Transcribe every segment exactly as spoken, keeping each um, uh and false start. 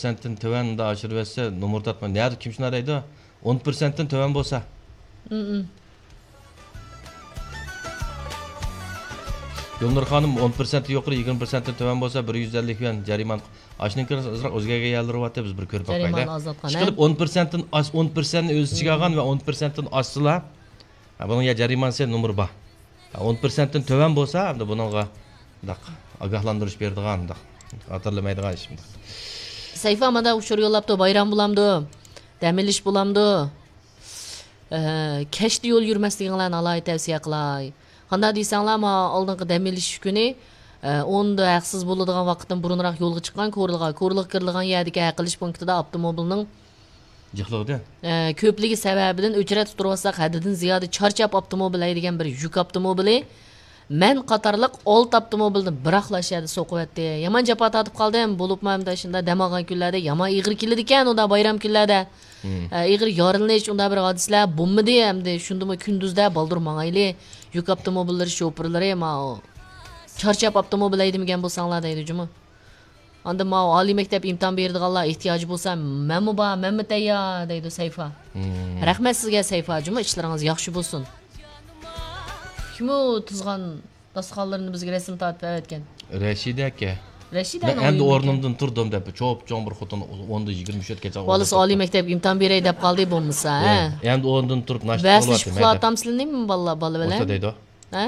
پىرسەنتتىن تۆۋەن ئاشۇرۇۋەتسە، نومۇر تارتمايدۇ. نەدە، كىم شۇنداق دەيدۇ؟ ئون پىرسەنتتىن تۆۋەن بولسا. مم. گۈلنۇر خانىم، ئون پىرسەنتتىن يۇقىرى، يىگىرمە پىرسەنتتىن تۆۋەن بولسا، بىر يۈز ئەللىك يۈەن جەرىمانە. ئاشۇنىڭكى ئازراق ئۆزگەرگەن يەرلىرى بار، بىز بىر كۆرۈپ باقايلى. جەرىمانە ئازلاتقان، ھە؟ ئىشقىلىپ، ئون پىرسەنتتىن ئاش-، ئون پىرسەنتنى ئۆز ئىچىگە ئالغان ۋە ئون پىرسەنتتىن ئاشسىلا، ھە، بۇنىڭ يا جەرىمانىسى، نومۇرى بار. ھە، ئون پىرسەنتتىن تۆۋەن بولسا، ئەمدى بۇنىڭغا مۇنداق ئاگاھلاندۇرۇش بېرىدىغان، مۇنداق خاتىرىلىمەيدىغان ئىش مۇنداق. سەيفا مانا ئۇچۇر يوللاپتۇ، بايرام بولامدۇ؟ دەم ئېلىش بولامدۇ؟ ئە، كەچتە يول يۈرمەسلىكىڭلارنى ئالاھىدە تەۋسىيە قىلاي. قانداق دېسەڭلار، ما ئالدىنقى دەم ئېلىش كۈنى، ئە، ئورنىدا ھەقسىز بولىدىغان ۋاقىتتىن بۇرۇنراق يولغا چىققان، كورلىغا، كورلىغا كىرىدىغان يەردىكى ھەق ئېلىش پونكىتىدا ئاپتوموبىلنىڭ جىقلىقىدىن. ئە، كۆپلۈكى سەۋەبىدىن ئۆچرەتتە تۇرۇۋاتساق، ھەددىدىن زىيادە چارچاپ ئاپتوموبىل ھەيدىگەن بىر يۈك ئاپتوموبىلى مەن قاتارلىق ئالتە ئاپتوموبىلدىن بىراقلا شۇ يەردە سوقۇۋەتتى. يامان جاپا تارتىپ قالدىم. بولۇپمۇ ئەمدى شۇنداق دەم ئالغان كۈنلەردە يامان ئېغىر كېلىدىكەن، ئۇنداق بايرام كۈنلەردە. مم. ئە، ئېغىر يارىلىنىش، ئۇنداق بىر ھادىسىلەر بولمىدى. ئەمدى شۇندىمۇ كۈندۈزدە بالدۇر ماڭايلى. يۈك ئاپتوموبىللىرى شوپۇرلىرى ماۋۇ چارچاپ ئاپتوموبىل ھەيدىمىگەن بولساڭلار دەيدۇ جۇمۇ. ئاندىن ماۋۇ ئالىي مەكتەپ ئىمتىھان بېرىدىغانلار ئېھتىياجى بولسا، مەنمۇ بار، مەنمۇ تەييار دەيدۇ سەيفا. مم. رەھمەت سىزگە سەيفا جۇمۇ، ئىشلىرىڭىز ياخشى بولسۇن. كىمۇ تۇزغان داستىخانلىرىنى بىزگە رەسىم تارتىپ ئەۋەتكەن؟ رەشىدە ئاكا. رەشىدە مەن ئەمدى ئويۇنىڭكى ئورنۇمدىن تۇردۇم دەپ، چوپ-چوڭ بىر خوتۇن، ئوندىن يىگىرمە ئۈچ ياشقىچە. بالىسى ئالىي مەكتەپكە ئىمتىھان بېرەي دەپ قالدى بولمىسا، ھە؟ ئەمدى ئورنىدىن تۇرۇپ ناشتا قىلىۋاتىمەن. ئۇخلاتامسىلەر نېمە بالىلار، بالا بىلەن؟ ئوشۇ دەيدۇ. ھە؟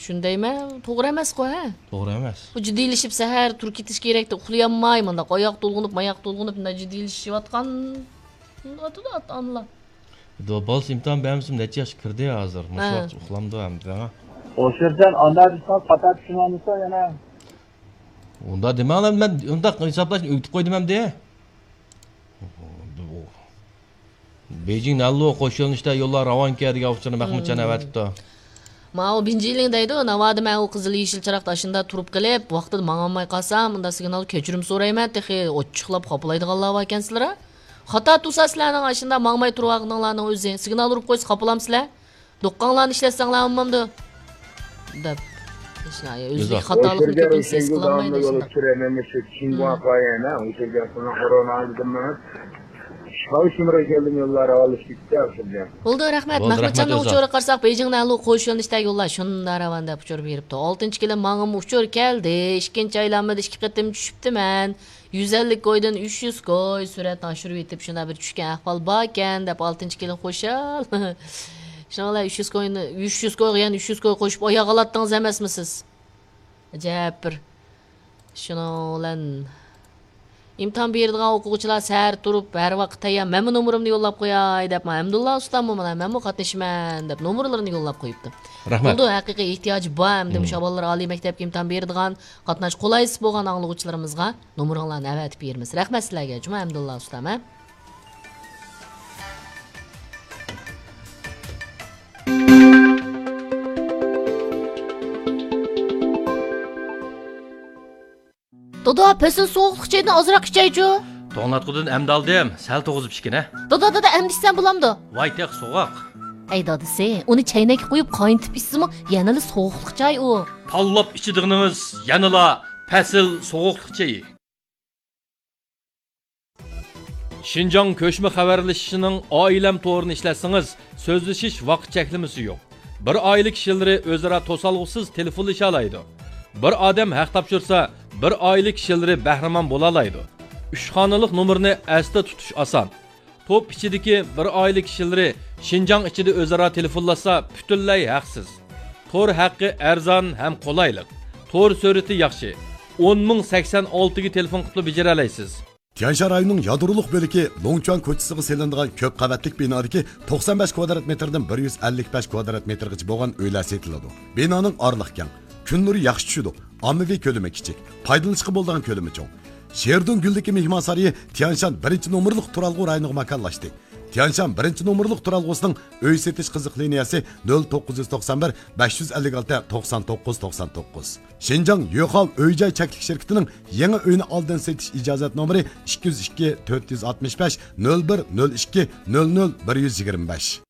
شۇنى دەيمەن، توغرا ئەمەسقۇ، ھە؟ توغرا ئەمەس. بۇ جىددىيلىشىپ سەھەر تۇرۇپ كېتىش كېرەكتى، ئۇخلىيالماي، مۇنداق ئاياق تولغىنىپ، ماياق تولغىنىپ، مۇنداق جىددىيلىشىۋاتقان، ئاتىدۇ ئاتا-ئانىلار. بالىسى ئىمتىھان بەرمىسىمۇ نەچچە ياشقا كىردى ھازىر. مۇشۇ ۋاقىت ئۇخلامدۇ ئەمدى، ھە؟ ئوشۇرجان، ئانداق دېسەڭ خاتا چۈشىنىۋالمىسا يەنە. ئۇنداق دېمەڭلار، مەن ئۇنداق ھېسابلاشنى ئۆگىتىپ قويدۇم ئەمدى. بېيجىڭ نەنلۇ قوش يۆنىلىشتە يوللار راۋانكەن دېگەن ئۇچۇرنى مەخمۇتجان ئەۋەتىپتۇ. ماۋۇ بىنجىلىڭ دەيدۇ، ناۋادا مەن ئۇ قىزىل يېشىل چىراغدا ئاشۇنداق تۇرۇپ قېلىپ، ۋاقتىدا ماڭالماي قالسام، ئۇنداق سىگنال كەچۈرۈم سورايمەن، تېخى ئوچۇقلاپ خاپىلايدىغانلار باركەنسىلەر. خاتا تۇرسا سىلەرنىڭ ئاشۇنداق ماڭماي تۇرۇۋالغىنىڭلارنىڭ ئۆزى، سىگنال ئۇرۇپ قويسا خاپىلامسىلەر؟ دوققاڭلارنى ئىشلەتسەڭلار بولمامدۇ؟ دەپ. ئۆزىنىڭ خاتالىقىنى كۆپىنچە ھېس قىلالمايدۇ شۇنداق. بولدى، رەھمەت. مەخمۇتجاننىڭ ئۇچۇرىغا قارىساق، بېيجىڭ نەنلۇ قوش يۆنىلىشتە يوللار شۇنداق راۋان دەپ ئۇچۇر بېرىپتۇ. ئالتىنچى كېلىن ماڭىمۇ ئۇچۇر كەلدى. ئىككىنچى ئايلانمىدا ئىككى قېتىم چۈشۈپتىمەن. يۈز ئەللىك كويدىن ئۈچ يۈز كوي سۈرەتنى ئاشۇرۇۋېتىپ، شۇنداق بىر چۈشكەن ئەھۋال باركەن دەپ، ئالتىنچى كېلىن خۇشال. شۇنىڭ بىلەن ئۈچ يۈز كوينى، ئۈچ يۈز كويغا يەنە ئۈچ يۈز كوي قوشۇپ، ئاياغ ئالاتتىڭىز ئەمەسمۇ سىز؟ ئەجەب بىر. شۇنىڭ بىلەن ئىمتىھان بېرىدىغان ئوقۇغۇچىلار سەھەر تۇرۇپ، ھەر ۋاقىت تەييار، مەنمۇ نومۇرۇمنى يوللاپ قوياي دەپ، ھەمدۇللا ئۇستاممۇ مانا، مەنمۇ قاتنىشىمەن دەپ، نومۇرلىرىنى يوللاپ قويۇپتۇ. رەھمەت. بولدى، ھەقىقىي ئېھتىياجى بار، ئەمدى مم. مۇشۇ بالىلار ئالىي مەكتەپكە ئىمتىھان بېرىدىغان، قاتناش قولايسىز بولغان ئاڭلىغۇچىلىرىمىزغا نومۇرۇڭلارنى ئەۋەتىپ بېرىمىز. رەھمەت سىلەرگە جۇمۇ، ھەمدۇللا ئۇستام، ھە. دادا، پەسىل سوغۇقلۇق چايدىن ئازراق ئىچەيچۇ. توڭلاتقۇدىن ئەمدى ئالدىم، سەل توغۇزۇپ ئىچكىنە. دادا، دادا، ئەمدى ئىچسەم بولامدۇ؟ ۋاي تېخى سوغۇق. ئەي دادىسى، ئۇنى چەينەككە قۇيۇپ قاينىتىپ ئىچسىمۇ يەنىلا سوغۇقلۇق چاي ئۇ. تاللاپ ئىچىدىغىنىڭىز يەنىلا پەسىل سوغۇقلۇق چېيى. شىنجاڭ كۆچمە خەۋەرلىشىشىنىڭ ئائىلەم تورىنى ئىشلەتسىڭىز، سۆزلىشىش ۋاقىت چەكلىمىسى يوق. بىر ئائىلە كىشىلىرى ئۆزئارا توسالغۇسىز تېلېفونلىشالايدۇ. بىر ئادەم ھەق تاپشۇرسا، بىر ئائىلە كىشىلىرى بەھرىمەن بولالايدۇ. ئۈچ خانىلىق نومۇرنى ئەستە تۇتۇش ئاسان. توپ ئىچىدىكى بىر ئائىلە كىشىلىرى شىنجاڭ ئىچىدە ئۆزئارا تېلېفونلاشسا، پۈتۈنلەي ھەقسىز. تور ھەققى ئەرزان ھەم قولايلىق. تور سۈرئىتى ياخشى. ئون مىڭ سەكسەن ئالتىگە تېلېفون قىلىپلا بېجىرەلەيسىز. تيەنشان رايونىنىڭ يادرولۇق بۆلىكى لوڭچۈەن كوچىسىغا سېلىنىدىغان كۆپ قەۋەتلىك بىنادىكى توقسان بەش كۋادرات مېتىردىن بىر يۈز ئەللىك بەش كۋادرات مېتىرغىچە بولغان ئۆيلەر سېتىلىدۇ. بىنانىڭ ئارىلىقى كەڭ، كۈن نۇرى ياخشى چۈشىدۇ، ئاممىۋى كۆلىمى كىچىك، پايدىلىنىشقا بولىدىغان كۆلىمى چوڭ. شېرىدون گۈلدىكى مېھمانسارىيى تيەنشان بىرىنچى نومۇرلۇق تۇرالغۇ رايونىغا ماكانلاشتى. تيەنشان بىرىنچى نومۇرلۇق تۇرالغۇسىنىڭ ئۆي سېتىش قىزىق لىنىيەسى نۆل توققۇز يۈز توقسان بىر، بەش يۈز ئەللىك ئالتە، توقسان توققۇز، توقسان توققۇز. شىنجاڭ يۆخاۋ ئۆي جاي چەكلىك شىركىتىنىڭ يېڭى ئۆينى ئالدىن سېتىش ئىجازەت نومۇرى ئىككى يۈز ئىككى، تۆت يۈز ئاتمىش بەش، نۆل بىر، نۆل ئىككى، نۆل نۆل، بىر يۈز يىگىرمە بەش.